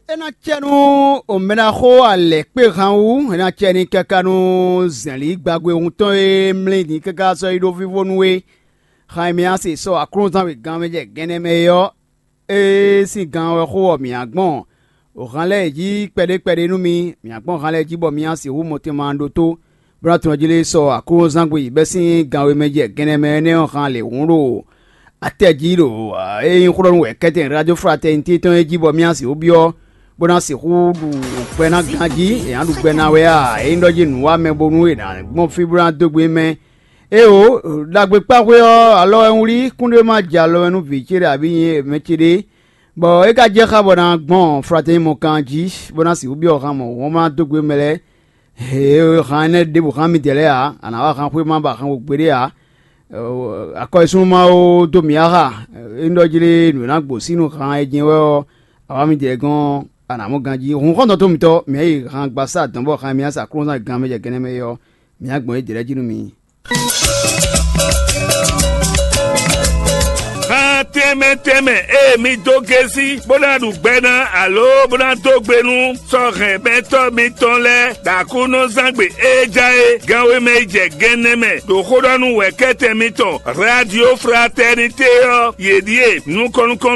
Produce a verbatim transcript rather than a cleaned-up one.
É ná cɛ nú omɛɖaxó alɛ̌kpé han wú; é ná cɛ n'i káká nú zɛ̌nlí gbagbe wuntɔn e mlí din káká sɔ́ yi ɖó vívó nú é. Han e mì nǎ se sɔ́ aklúnɔzán wěgán mɛ jɛ gɛnɛ mɛ é ɔ́, é sín gan wɛ xó ɔ́ mǐ nǎ gbɔn han lɛ́ɛ jí kpɛɖé kpɛɖé nú mi; mǐ nǎ gbɔn han lɛ́ɛ jí bɔ mi ná sixú mɔtɛnmɛ ɖótó, bó ná tunwun jí lé sɔ́ aklúnɔzángbe bɛ́ sín gan e mɛ jɛ gɛnɛ mɛ énɛ́ ɔ́ han lě hǔn ɖo atɛ jí ɖo é nyí xó ɖɔ nú wɛ kɛ́tɛn Radio Fraternité tɔn é jí bɔ mì nǎ sixú byɔ́, bó ná sixú ɖu gbɛ ná ganjí; è nǎ ɖu gbɛ ná wɛ a? É nyí ɖɔ jí nǔ wa mɛ bónú è nǎ gbɔn fí bó ná dó gbe mɛ. Éeǒ, ɖagbe kpáxwé ɔ́, alɔ wɛ un wlí; kúnɖé ma jɛ alɔ wɛ nú vǐ ce ɖé abǐ nyɛ mɛ ce ɖé, bɔ é ka jɛ xá bɔ ná gbɔn Fratɛ́ni mɔ kan jí, bó ná sixú byɔ́ han mɔ̌ hɔn bó ná dó gbe mɛ lɛ́ɛ. Hě han énɛ́ ɖěbǔ xán midɛɛ lɛ́ɛ ǎ; a nǎ wá han xwé má ba han xo gbeɖé ǎ. Akɔ́súnú Mawu dó mǐ áxa; é nyí ɖɔ jlé nǔ e ná gbo sín nú han e jɛ́n wɛ ɔ́, awǎ midɛɛ gɔ́n a nǎ mɔ ganjí. Hun xɔ́ntɔn tó mitɔ́, mǐ yi han gbasá dɔ̌n bɔ han e mǐ ná sa klúnzán gán mɛ jɛ gɛnɛ mɛ é ɔ́, mǐ ná gbɔn é jlɛ́ jí nú mi. Han tɛnmɛ tɛnmɛ e mi dó gésí, bó ná ɖu gbɛ ná, alo bó ná dó gbe nú sɔ́hɛnmɛtɔ́ mitɔn lɛ́ɛ, ɖo Aklúnɔzángbe e ja é, gan wěma yi jɛ gɛnɛ mɛ, ɖo xó ɖɔ nú wɛ̌kɛ́tɛn mitɔn Radio Fraternité ɔ́, yě ɖíe: nukɔn nukɔn